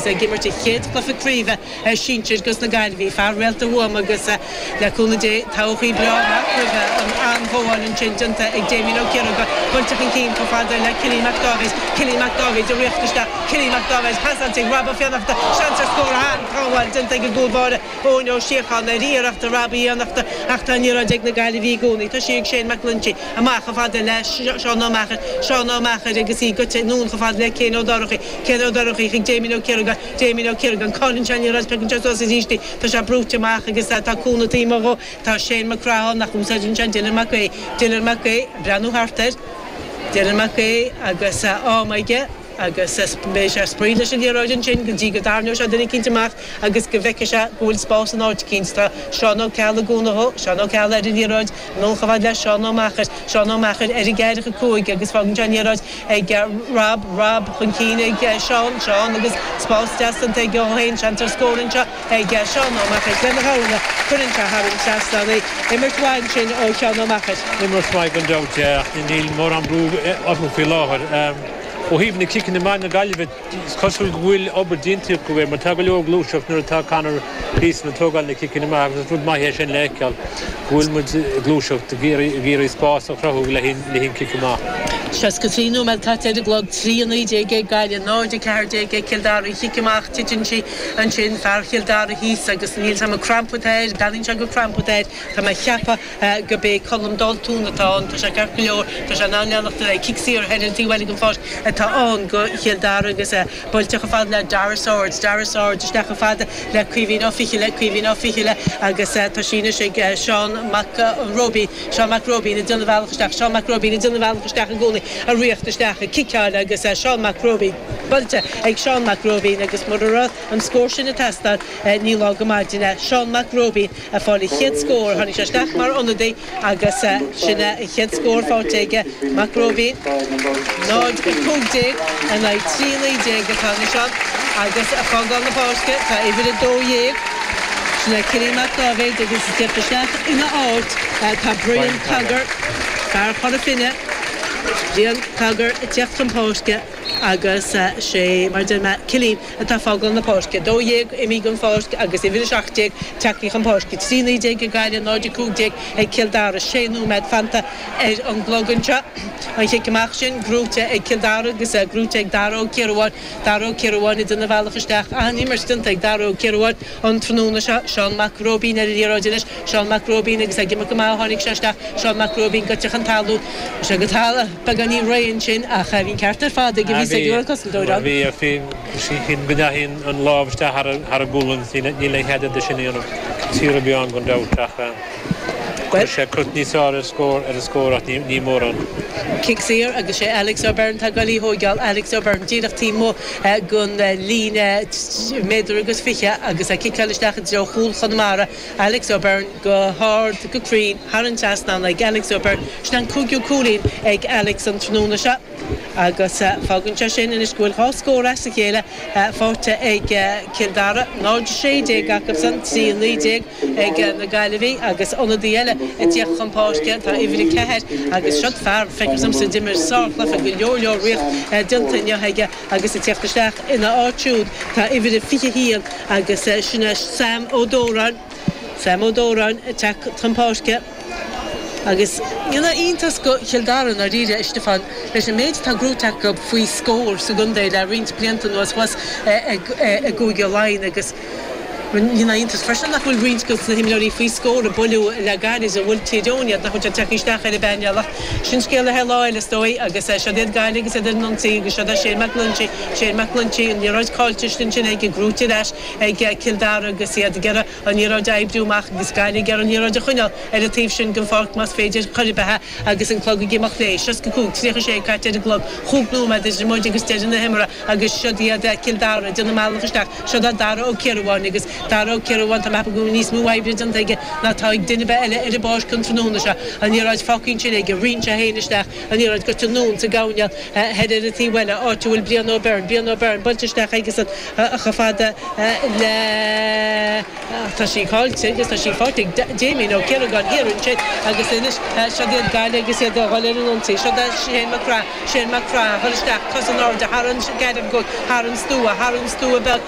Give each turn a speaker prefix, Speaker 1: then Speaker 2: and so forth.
Speaker 1: ag imirt a chéad chluiche craoibhe sinsir dos na Gaillimhigh. Fear réalta Thuama agus le cúnamh Dé todhchaí breá amach roimhe. An-ghabháil ansin déanta ag Damien Ó Ciaragáin. Buailte chun cinn chomh fada le Cillian Mac Dáibhéid. Cillian Mac Dáibhéid ag ritheacht isteach. Cillian Mac Dáibhéid pasáilte ag Rob Ó Fiannachta. Seans ar scór an-shábháil déanta ag an gcúl báire Eoin Ó Síocháin ar iarracht Rob Uí Fhiannachta ach tá an liathróid ag na Gaillimhigh i gcónaí. Tá sí ag Shane Mac Loinsigh. Amach chomh fada le Seán Ó Meachair. Seán Ó Meachair agus í goite anonn chomh fada le Cian Ó Dorchaí. Cian Ó Dorchaí chuig Damien Ó Ciaragáin. Damien Ó Ciaragáin, Cailleann sé an liathróid, piocann sé suas arís í. Tá sé brúite amach agus tá cúnamh taobh amuigh dhó. Tá Shane Mac Craith ann ach úsáideann sé Dylan Mac Aodha. Dylan Mac Aodha ag breathnú thart air. Dylan Mac Aodha agus am aige agus beidh sé ag spraoi leis an liathróid ansin go dtí go dtarraingeoidh sé duine eicínt amach agus go bhfeicfidh sé go bhfuil spás in áit eicínt. Tá Seán Ó Ceallaigh ag cúnamh dhó. Seán Ó Ceallaigh ar an liathróid. Anonn chomh fada le Seán Ó Meachair. Seán Ó Meachair ar an gceathracha 5 agus fágann sé an liathróid ag Rob, Rob chun cinn ag Seán, Seán agus spás deas déanta aige dhó féin, seans ar scór anseo ag Seán Ó Meachair. Lena dhamhna, cuireann sé thar an trasnán í. Imirt mhaith ansin ó Sheán Ó Meachair.
Speaker 2: Imirt mhaith gan dabht, ach níl mórán brú orthu faoi láthair. Ó thaobh na ciceanna amach na Gaillimhe, Is cosúil go bhfuil obair déanta acu air mar tá go leor gluaiseacht nuair atá Conor Gleeson ag tógáil na ciceanna amach agus is rud maith é sin le feiceáil go bhfuil muid ag gluaiseacht ag iarraidh spás a chruthú le haghaidh an cic amach.
Speaker 1: 63 nóiméad caite ar an gclog, 3-19 ag Gaillimh, 0-14 ag Cill Dara. An chic amach, titeann sí ansin, fear Chill Dara thíos agus níl 's a'm an crampa atá air, breathnaíonn sé gur crampa atá air, tá mé ag ceapadh. go b'é Colm Daltún atá ann. Tá sé ceart go leor, tá sé in ann leanacht ar aghaidh. Cic saor thoir ar an taobh eile den pháirc atá ann go Chill Dara agus é buailte chomh fada le Dara Swords, Dara Swords isteach chomh fada le Caoimhín Ó Fichille, Caoimhín Ó Fichille agus tá sí anois ag Seán Mac Róibín, Seán Mac Róibín ag déanamh a bhealach isteach, Seán Mac Róibín ag déanamh a bhealach isteach i gcónaí, ag ritheacht isteach, ag ciceáil agus Seán Mac Róibín buailte ag Seán Mac Róibín agus mura raibh an scór sin ag teastáil ní lá go maidin é. Seán Mac Róibín. Ag fáil a chéad scór. Tháinig sé isteach mar ionadaí agus sin é an chéad scór faighte aige, Mac Róibín. 0, 15 in aghaidh 3, 19 atá anois ann agus ag fágáil na páirce tá uimhir 12, sin é Cillian Mac Dáibhéid agus ag teacht isteach ina áit tá Brian Cogger, fear Chora Finne. Brian Cogger ag teacht chun páirce agus sé mar a deir mé Cillian atá ag fágáil na páirce. 12 imithe den pháirc agus uimhir 17 tagtha chun páirce. 3, 19 ag Gaillimh, 0, 15 ag Cill Dara. Sé nóiméad fanta ar an gclog anseo. An chic amach sin gnóite ag Cill Dara agus gnóite ag Dara Ó Ciarabháin. Dara Ó Ciarabháin ag déanamh a bhealach isteach. An-imirt déanta ag Dara Ó Ciarabháin an tráthnóna seo. Seán Mac Róibín ar an liathróid anois. Seán Mac Róibín agus ag imeacht go maith a tháinig sé isteach. Seán Mac Róibín goite chun talún. Bhí sé go talamh beagáinín réidh ansin ach bhí an ceart ar fad ag a bhí ag an cosantóir ann.
Speaker 2: Bhí, bhí, bhí, go ndeachaigh an lámh isteach thar an gualainn, níl aon chead air sin a dhéanamh. Saor a bhí ann gan dabht ach chuir sé crot níos fearr ar scór ar an scór ach ní mórán.
Speaker 1: Cic saor agus sé Alex O'Byrne atá ag goil í thóigeáil. Alex O'Byrne díreach taobh amuigh den líne méadar agus fiche agus é ciceáil isteach i dtreo chúl Chonamara. Alex O'Byrne go hard, go cruinn, thar an trasnán ag Alex O'Byrne. Sin an cúigiú cúilín ag Alex an tráthnóna seo agus fágann sé sin anois go bhfuil dhá scór as a chéile faighte ag Cill Dara, 0-16 acusan, 3-19 ag na Gaillimhigh agus ionadaí eile ag tíocht chun páirce, tá uimhir 4 agus siod fear, feictear domsa, a d'imir sárchluiche, go leor leor ríocht déanta inniu aige agus ag tíocht isteach ina áit siúd tá uimhir 21 Agus sin é Sam Ó Dóráin, Sam Ó Dóráin ag teacht chun páirce. Agus ní haon iontas go Chill Dara i ndáiríre, a Stiofáin, leis an méid atá gnóite acu faoi scór sa gcontae le roinnt blianta anuas thuas i gCúige Laighean agus ní haon iontas freisin nach bhfuil roinnt de na himreoirí faoi scór a buaileadh le gairid a bhuail Tír Eoghain iad, nach bhfuil siad tagtha isteach ar an bpainéal ach sin scéal le haghaidh lá eile is dóigh agus siod iad Gaillimh agus iad ar an ionsaí agus siod é Shane Mac Loinsigh Shane Mac Loinsigh, an liathróid caillte ansin aige, gnóite ar ais ag Cill Dara agus iad ag iarraidh an liathróid a oibriú amach agus Gaillimh ag iarraidh an liathróid a choinneáil ar an taobh sin den pháirc más féidir chor ar bith agus an clog ag imeacht léi. 65, 36 caite ar an gclog, chúig nóiméad idir muid agus deireadh na himeartha agus siod iad Cill Dara ag déanamh a mbealach isteach. Siod é Dara Ó Ciarabháin agus Dara Ó Ciarabháin, tá mé ag ceapadh go bhfuil níos mó oibre déanta aige ná atá ag duine ar bith eile ar an bpáirc an tráthnóna seo. An liathróid fágtha ansin aige, ritheann sé féin isteach, an liathróid goite anonn sa gcoirnéal. Thoir ar an taobh eile, áit a bhfuil Brian O'Byrne. Brian O'Byrne buailte isteach aigesan chomh fada le. Tá sí caillte agus tá sí faighte ag Damien Ó Ciaragáin thiar ansin agus anois siod iad Gaillimh agus iad a dhul ar an ionsaí. Siod é Shane Mac Craith. Shane Mac Craith a dhul isteach, cos in airde thar an gceathracha, thar an stua, thar an stua beag.